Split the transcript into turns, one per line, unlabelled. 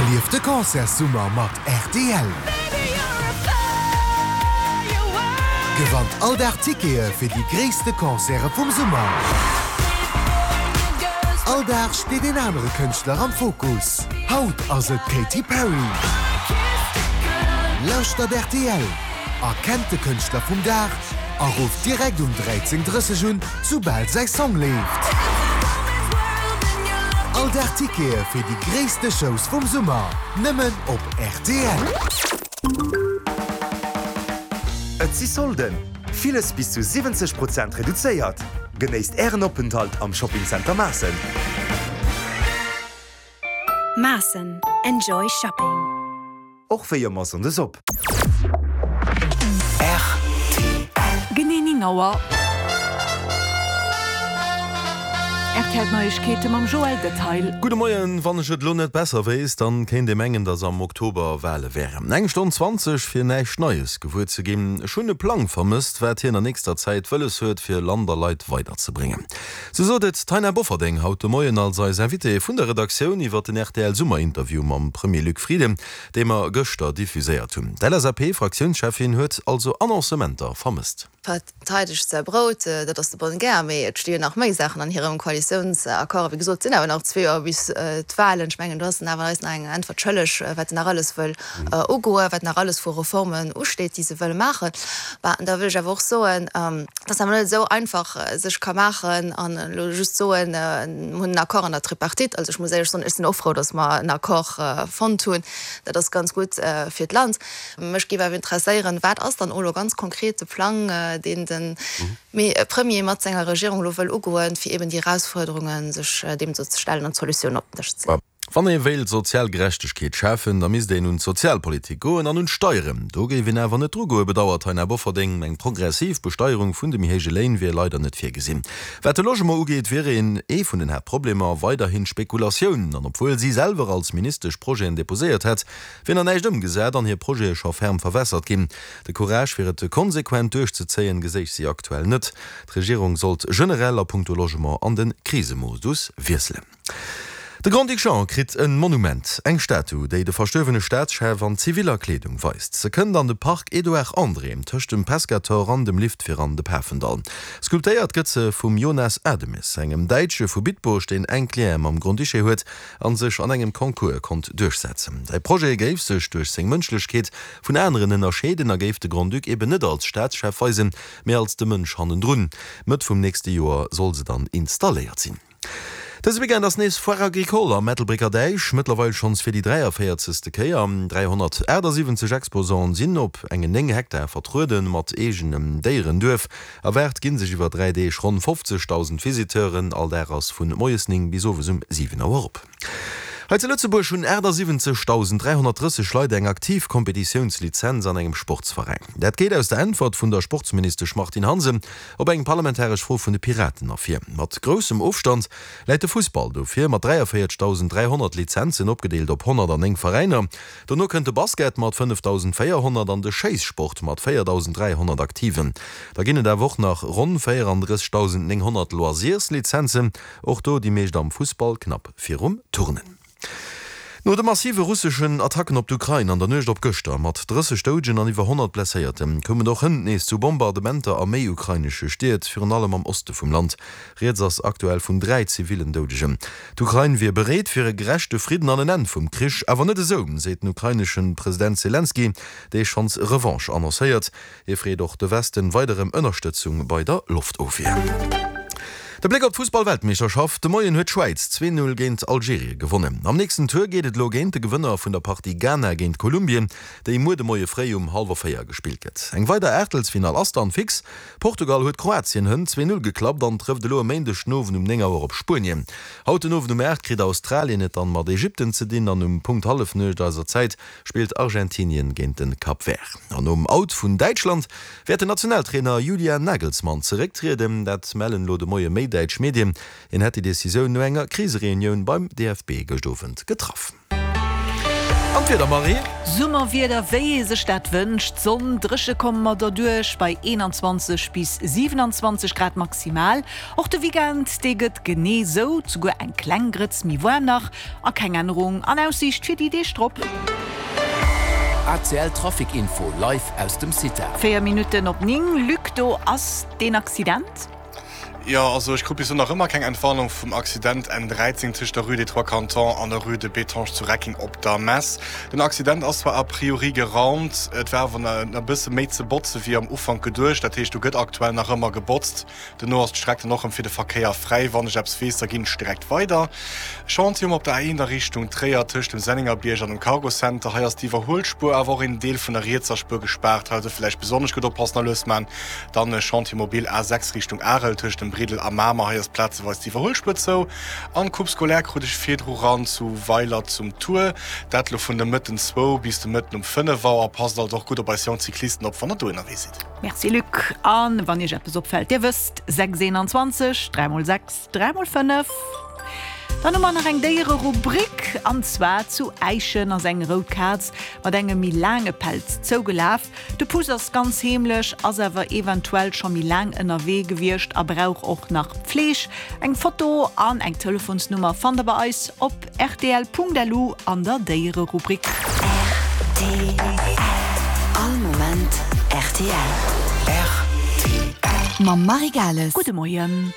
Erlieft de Concertssummer mat rtl! Gewannt all Dag Tickete fir déi gréisste Concerte vum Summer! All Dag steet een anere Kënschtler am Fokus. Haut ass et d'Katy Perry. Lauschtert rtl, erkennt de Kënschtler vum Dag a rufft direkt um 13:30 un, soubal säi Song leeft. All Dag Tickete fir déi gréisste Shows vum Summer, nëmmen op rtl.
Et si Solden! Villes bis zu 70 Prozent reduzéiert! Genéisst Ären Openthalt am Shopping Center Maassen!
Maassen, Enjoy Shopping!
Och wéi ëmmer Sonndes op.
Rtl. Genee 9 Auer. Rtl Neiegkeete mam Joël Detail.
Gudde Moien, wann ech et elo net besser wéisst, dann kéint ee mengen, dass am Oktober Wale wären. Eng Stonn 20 fir näischt Neies gewuer ze ginn. Ech hunn e Plang vermësst, wat hien an nächster Zäit wëlles huet fir Land a Leit weiderzebréngen. Sou sot et d'Taina Bofferdeng haut de Moien als eis Invitée vun der Redaktioun iwwer den rtl Summerinterview mam Premier Luc Frieden, dee mer gëschter diffuséiert hunn. D'LSAP-Fraktiounscheffin huet also Annoncementer vermësst.
Verteidegt säi Brout, dat ass de bonne guerre, mee et sti jo nach méi Saachen an hirem Koalitiounsaccord. A wéi gesot, et sinn awer nach zwee Joer bis d'Wahlen. Ech mengen, do ass en awer eis nach eng Äntwert schëlleg, wat en nach alles wëll ugoen, wat nach alles vu Reformen usteet, déi se wëlle maachen. Bah, an da wëll ech awer och soen, dass awer net esou einfach sech ka maachen an elo just soen, mir hunn en Accord an der Tripartite. Also ech muss éierlech soen, ech sinn och frou, dass mer en Accord fonnt hunn. Dat ass ganz gutt fir d'Land. Mech géif awer interesséieren, Wat ass dann elo ganz konkret de Plang, deen de Premier mat senger Regierung elo wëll ugoen, fir eben déi Erausfuerderungen sech deem do ze stellen an Solutiounen op den Dësch ze.
Wann ee wéilt sozial Gerechtegkeet schafen, da misst een un d'Sozialpolitik goen an un d'Steieren. Do géif een awer net drugoen, bedauert d'Taina Bofferding. Eng progressiv Besteierung vun de méi héije Léin wier leider net virgesinn. Wat de Logement ugeet, wier een ee vun den Haaptproblemer weiderhin d'Spekulatioun. An obwuel si selwer als Ministesch Projeten deposéiert hätt, Wier nach näischt ëmgesat an hir Projete scho ferm verwässert ginn. De Courage fir et konsequent duerchzezéien, geséich si aktuell net. D'Regierung sollt generell a punkto Logement an de Krisemodus wiesselen. De Grand-Duc Jean kritt e Monument, eng Statu, déi de verstuerwene Staatschef an ziviller Kleedung weist. Se kënnt an de Parc Edouard André, tëscht dem Pescator an dem Lift fir an de Pafendall. Sculptéiert gëtt se vum Jonas Ademes, engem Däitsche vu Bitburg, deen enk Liene mam Grand-Duché huet an sech an engem Concours konnt duerchsetzen. Säi Projet géif sech duerch seng Mënschlechkeet vun aneren ënnerscheeden a géif de Grand-Duc eben net als Staatschef weisen, mee als de Mënsch hannendrun. Mëtt vum nächste Joer soll se dann installéiert sinn. Dëse Weekend ass nees Foire Agricole am Ettelbrécker Däich, mëttlerweil schonns fir déi 43. Kéier. 378 Exposanten sinn op engen 9 Hektar vertrueden, mat eegenem Déierenduerf. Erwaart ginn sech iwwer 3 Deeg ronn 50.000 Visiteuren. All Dag ass vun moies 9 bis owes um 7 Auer op. Hei zu Lëtzebuerg hunn 78.330 Leit eng aktiv Kompetitiounslizenz an engem Sportsveräin. Dat geet aus der Äntwert vun der Sportsministesch Martine Hansen op eng parlamentaresch Fro vun de Piraten ervir. Mat groussem Ofstand läit de Fussball do vir mat 43.300 Lizenzen, opgedeelt op 109 Veräiner. Dono kënnt de Basket mat 5.400 an de Schéissport mat 4.300 Aktiven. Da ginn et awer och nach ronn 34.900 Loisirslizenzen, och do déi meescht am Fussball, knapp virum Turnen. No de massive russeschen Attacken op d'Ukrain an der Nuecht op gëschter, mat 30 Doudegen an iwwer 100 Blesséierten, koum et och hënt nees zu Bombardementer a méi ukrainesche Stied, virun allem am Oste vum Land. Rieds ass aktuell vun 3 zivillen Doudegen. D'Ukrain wier bereet fir e gerechte Fridden an en Enn vum Krich, awer net esou, seet den ukrainesche President Selenskyj, dee schonns Revanche annoncéiert. Hie freet och de Westen weider ëm Ënnerstëtzung bei der Loftofwier. De Bléck op d'Fussball-Weltmeeschterschaft, De Moien huet d'Schwäiz 2, 0 géint Algerie gewonnen. Am nächsten Tour geet et elo géint de Gewënner vun der Partie Ghana géint Kolumbien, déi muer de Moie fréi um hallwer 4 gespillt gëtt. Eng weider Aachtelsfinall ass dann fix. Portugal huet Kroatien hënt 2, 0 geklappt an trëfft elo e Méindeg den Owend um 9 Auer op Spuenien. Haut den Owend um 8 kritt Australien et dann mat Ägypten ze dinn an um Punkt Hallefnuecht eiser Zäit spillt Argentinien géint den Cap Vert. An nom Out vun Däitschland wäert den Nationaltrainer Julian Nagelsmann zerécktrieden. Dat mellen elo de Moie méi däitsch Medien. Hien hätt déi Decisioun no enger Krisereunioun beim DFB gëscht Owend getraff. An d'Wieder, Marie?
Summerwieder wéi ee sech dat wënscht, Sonn, dréche komme mer derduerch bei 21 bis 27 Grad maximal. Och de Weekend, dee gëtt genee sou, souguer eng kleng Grëtz méi waarm nach a keng Ännerung an Aussiicht fir déi Deeg drop.
ACL Trafic Info live aus dem CITA.
4 Minutten op 9, Luc, do ass deen Accident.
Jo, also ech krut bis elo nach ëmmer keng Entwarnung vum Accident N13 tëscht der Rue des Trois Cantons an der Rue de Bétange zu Recking op der Mess. Den Accident ass zwar a priori geraumt, et war awer na e bësse méi ze botze wéi am Ufank geduecht. Dat heescht, do gëtt aktuell nach ëmmer gebotzt. Dono ass d'Streck dann och rëm fir de Verkéier fräi. Wann ech eppes weess, da ginn ech direkt weider. Chantier um op der A1 a Richtung Tréier tëscht dem Sennengerbierg an dem Cargo Center. Hei ass d'Iwwerhuelspuer, awer och een Deel vun der rietser Spuer gespaart. Hei also villäicht besonnesch gutt oppassen a lues man. Dann e Chantier mobile A6 Richtung Arel tëscht dem Briddel a Mamer. Hei ass plazeweis d'Iwwerhuelspuer zou. An d'Coupe scolaire krut ech virdru ran zu Weiler zum Tour. Dat lo vun de Mëtten zwou bis de Mëtten um 5 Auer. Passt also och gutt op eis jonk Cyclisten op, wann der do ënnerwee sidd.
Merci Luc. An wann iech eppes opfällt, dir wësst, 6 21 3 mol 6 3 mol 5. Dann hu mer nach eng Déiererubrik, an zwar zu Äischen ass eng rout Kaz mat engem méi laange Pelz zougelaf. De Puss ass ganz heemlech, ass awer eventuell scho méi laang ënnerwee gewiescht a brauch och nach Pfleeg. Eng Foto an eng Telefonsnummer fannt der bei eis op rtl.lu an der Déiererubrik.
Rtl, All Moment rtl.
Mam Marie Gales. Gudde Moien.